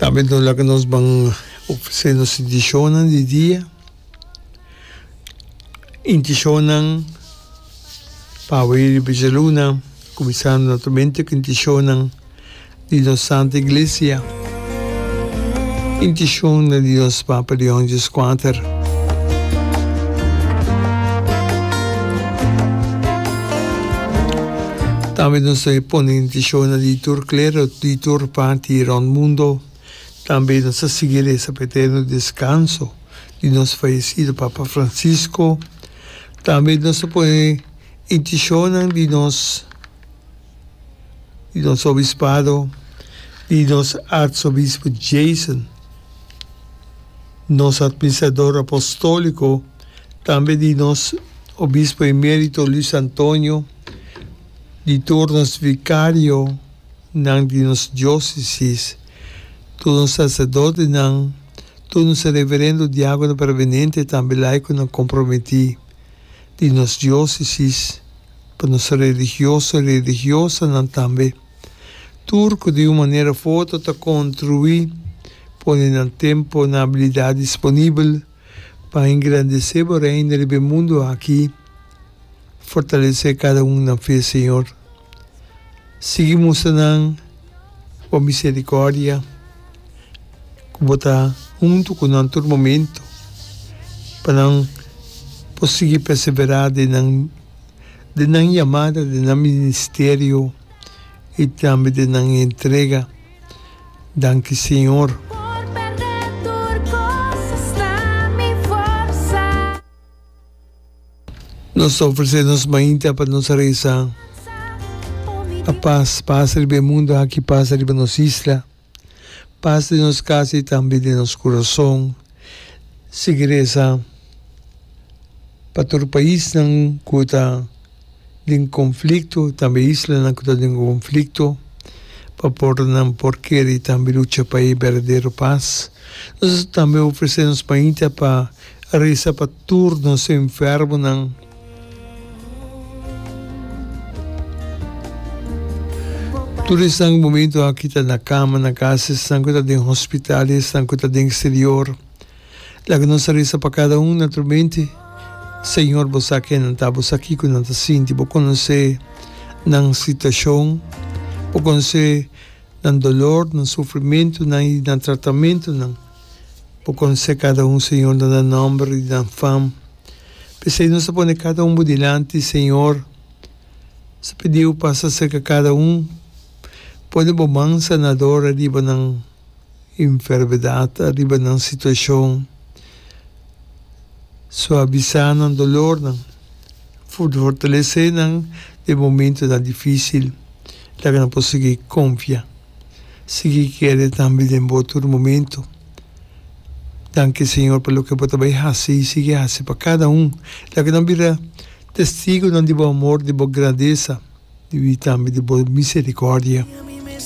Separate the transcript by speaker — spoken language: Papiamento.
Speaker 1: Tambe nos laga nos ban ofresé nos intishonnan di dia, intishonnan pa awe riba djaluna, kuminsando naturalmente ku intishonnan di nos Santa Iglesia, intishonnan di nos Papa Leon Dieskuater. Tambe nos ta pone intishonnan di tur klero di tur parti rònt mundo. Tambe nos ta sigui resa pa eterno deskanso di nos fayesido Papa Francisco. Tambe nos ta pone intishonnan di nos di nos obispado, di nos artsobispo Jason, nos administrador apostóliko, tambe di nos obispo emérito Luis Antonio, di tur nos vikarionan di nos diósesis, tur nos saserdotenan, tur nos reverendo, diákono prevenente, tambe laikonan komprometí di nos diósesis. Pa nos religioso i religiosanan tambe. Tur ku di un manera of otro ta kontribuí pone nan tempu, nan abilidat disponibel pa engrandesé bo Reino riba e mundu aki. Fortalesé kada un nan fe, Señor. Sigui mustra nan bo miserikòrdia, ku bo ta huntu ku nan tur momentu, pa nan por sigui perseverá den nan. Den nan yamada, den nan ministerio i tambe den nan entrega. Danki Señor.
Speaker 2: Por perde tur cos hasta mi forsa.
Speaker 1: Nos ta ofrece nos mainta pa nos reza pa pas, pas riba e mundo aki, pas riba nos isla, pas den nos casa i tambe den nos curason. Sigui reza. Pa tur paisnan ku ta den konflikto, tambe islanan ku ta den konflikto, pa por nan por kere i tambe lucha pa e berdadero pas. Nos ta tambe ofresé nos mainta pa resa pa tur nos enfermonan. Tur esnan ku momento aki ta na kama, na kas, esnan ku ta den hospital, esnan ku ta den eksterior. Laga nos a resa pa kada un naturalmente. Señor, bo sa ken nan ta, bo sa kiko nan ta sinti, bo konosé nan situashon, bo konosé nan dolor, nan sufrimentunan i nan tratamentunan. Bo konosé kada un, Señor, na nan nòmber i nan fam. P'esei nos ta pone kada un bo dilanti, Señor. Nos ta pidi bo pasa serka kada un, pone bo man sanador ariba nan. Enfermedat ariba nan situashon, suavisá nan dolornan, fortalesé nan den momentunan difísil, laga nan por sigui konfia, sigui kere tambe den bo tur momentu. Danki Señor pa loke bo ta bai hasi i sigui hasi pa kada un. Laga nan bira testigunan di bo amor, di bo grandesa i tambe di bo misericordia.